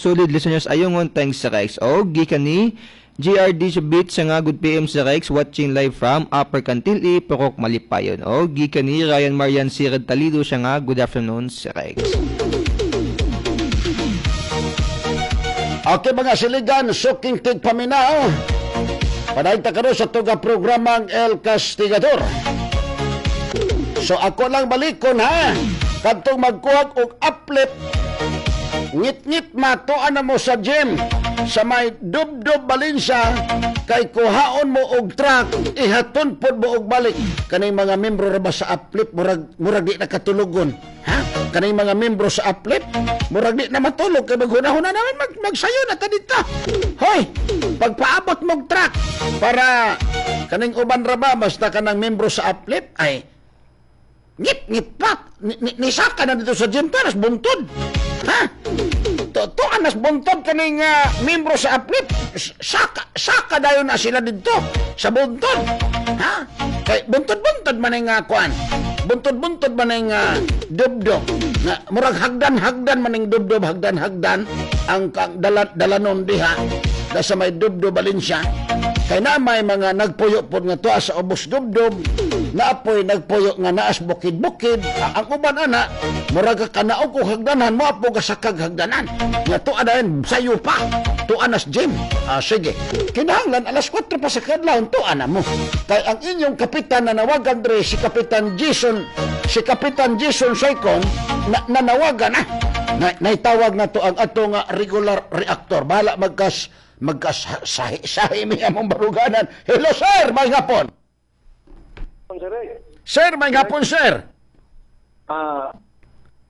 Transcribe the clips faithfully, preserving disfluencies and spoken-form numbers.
Solid listeners ayungon thanks Sir Rex. O gikan ni GRD sa beat sa nga good PM Sir Rex watching live from Upper Cantil-i, Purok Malipayon. O gikan ni Ryan Marian Sirad Talido siya nga good afternoon Sir Rex. Okay mga siligan, suking tigpaminaw. Padayon ta karon sa tuga programang El Castigador. So ako lang balikon ha. Kadtong magkuhag og uplift ngit-ngit matuan na mo sa gym sa may dubdob Valencia kay kuhaon mo og truck ihaton pod mo og balik kaning mga membro ra ba sa uplift murag murag di na katulogon ha kaning mga membro sa uplift murag di na matulog kay maghuna-huna naman mag, magsayo na ta dito hoy pagpaabot mo og truck para kaning uban ra ba basta kanang membro sa uplift ay ngit-ngit pa ni, ni, nisaka na dito sa gym to nas buntod ha to, to anas buntod kaning uh, membro sa uplift saka saka dayon na sila dito sa buntod ha kay buntod-buntod man ning uh, kuan buntod-buntod man ning uh, dubdo nga murag hagdan-hagdan man ning dubdob hagdan-hagdan ang kang dala, dalanon diha da sa may dubdo Valencia kay na may mga nagpuyo pod nga tuwa sa ubos dubdob naapoy nagpuyo nga naas bukid-bukid ang uban ana murag ka kanaog og hagdanan mo apo gasakag hagdanan nga tuwa dayon sayo pa tuwa nas gym ah, sige kinahanglan alas kwatro pa sa kadlawon tuwa na mo kay ang inyong kapitan na nawagan dre si Kapitan Jason si Kapitan Jason Saicon na, nanawagan na na, naitawag na to ang ato nga regular reactor bahala magkas magkas sahi sahi mi among baruganan hello sir may hapon Sir Rex. Sir, may hapon sir. Ah,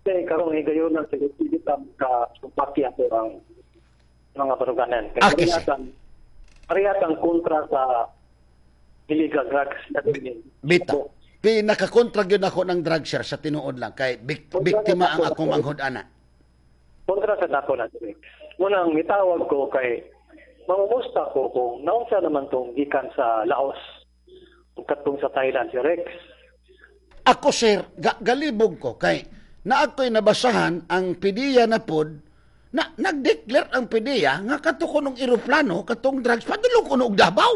kay karong higayon ng security ka sumpaki ato ang mga baruganan. Kay Ah, kasi. parehas ang parehas ang kontra sa illegal drugs na din. Bita. Pinakakontra gyud ako ng drug sir sa tinuod lang kay bik- biktima ang akong manghud ana. Kontra sa dako na Sir Rex. Munang mitawag ko kay mamumusta ko kung naunsa naman tong gikan sa Laos ug katong sa Thailand si Rex. Ako sir, ga- galibog ko kay na ako'y nabasahan ang PDEA na pod na nag-declare ang PDEA nga kato ko nung eroplano katong drugs padulong ko og Davao.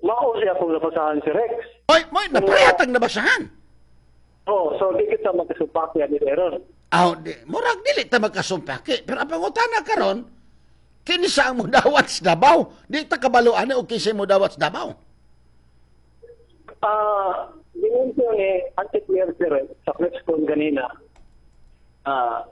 Mao siya akong nabasahan si Rex. Oy, moy naparehatag nabasahan. Oh, so di kita magkasumpaki ani Aaron. Aw, di, murag dili ta magkasumpaki. Pero ang pangutana karon, kinsa ang mudawat sa Davao? Di ta kabalo ani og kinsa mudawat sa Davao. Ah, uh, ni Anti-Clear Sir sa press con ganina. Ah,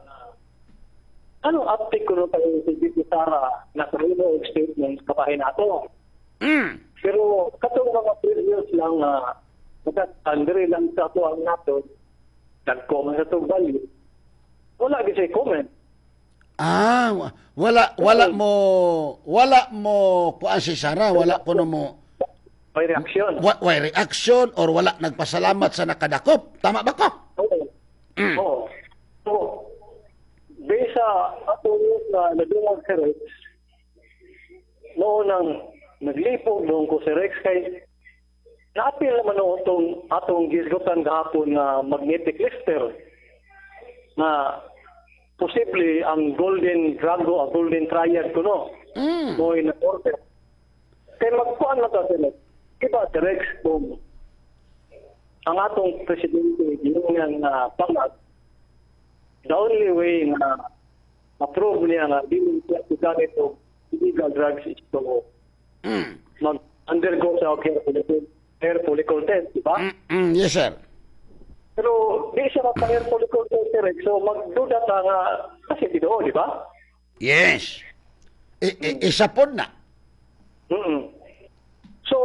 anong update ko nung tayo si VP Sara na sa og statement kapahin nato. Mm. Pero katong mga previous lang na uh, lang sa ato ang nato, nag-comment sa itong value, wala gyud siya comment. Ah, wa- wala wala mo wala mo kuan si Sara, wala kuno mo May reaksyon. wa, way reaction or wala nagpasalamat sa nakadakop. Tama ba ko? Oo. Oo. So, based sa ato na nadungag si Rex, noon ang naglipog doon ko si Rex kay naapil naman noon itong atong gisgutan gahapon nga magnetic lifter na posible ang golden drago, ang golden triad ko no. Mm. Mo'y na-order. Kay magkuan na ta sila. Iba si Rex kung ang atong presidente giungan nga pangag the only way nga approve niya nga dili siya gamit og illegal drugs is to Mm. mag-undergo sa hair follicle, hair follicle test, di ba? Mm, mm, yes sir. Pero di siya mapa-hair follicle test, sir. So magduda ta nga kasi tinuod, di ba? Yes. I, i, isa pod na. Mm. So,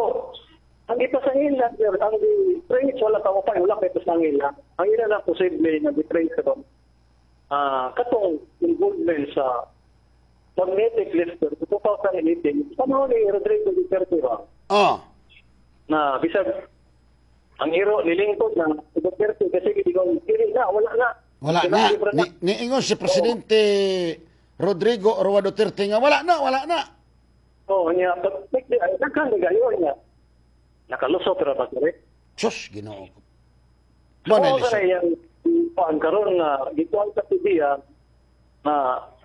ang ipasangil lang, sir, ang di-trace, wala pa mo pa, wala pa ipasangil lang. Ang ila na posible na di-trace ron, ah katong involvement sa magnetic lifter sa twenty eighteen, panahon ni Rodrigo Duterte ba, Oh. na bisag ang hero nilingkod ng Duterte kasi hindi ko dili na, wala na. Wala na. Libre Ni, niingon si Presidente Rodrigo Roa Duterte nga wala na, wala na. Oo, niya, but ay, daghan ni gayo niya. Nakalusot ra ba sir? Sus, Ginoo ko. Mo na Oo, lisod. kaya yung kuan karon nga gikuan sa PDEA na